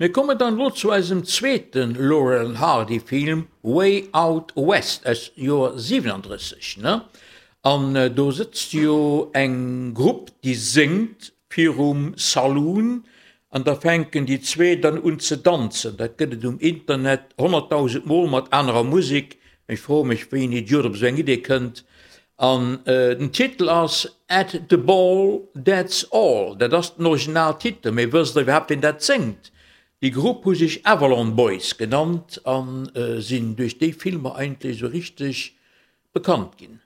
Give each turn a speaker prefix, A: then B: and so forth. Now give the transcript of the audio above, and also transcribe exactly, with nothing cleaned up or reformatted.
A: Mir kommen dann elo zu eisem zweete Laurel and Hardy Film Way Out West aus Joer siwenandrësseg, ne? An do sëtzt jo eng Grupp déi séngt virum Saloon an da fänken déi zwee dann un ze danzen. Dat gëtt et um Internet honnertdausend mol mat anerer Musek. Ech froe mech wéi en Idiot op esou eng Idee kënnt. An den Titel ass At the Ball, That's All. Dat ass den Originaltitel, mee wësst der iwwerhaapt wien dat séngt? Déi Grupp hu sech Avalon Boys genannt a sinn duerch déi Filmer eigentlech esou richteg bekannt ginn.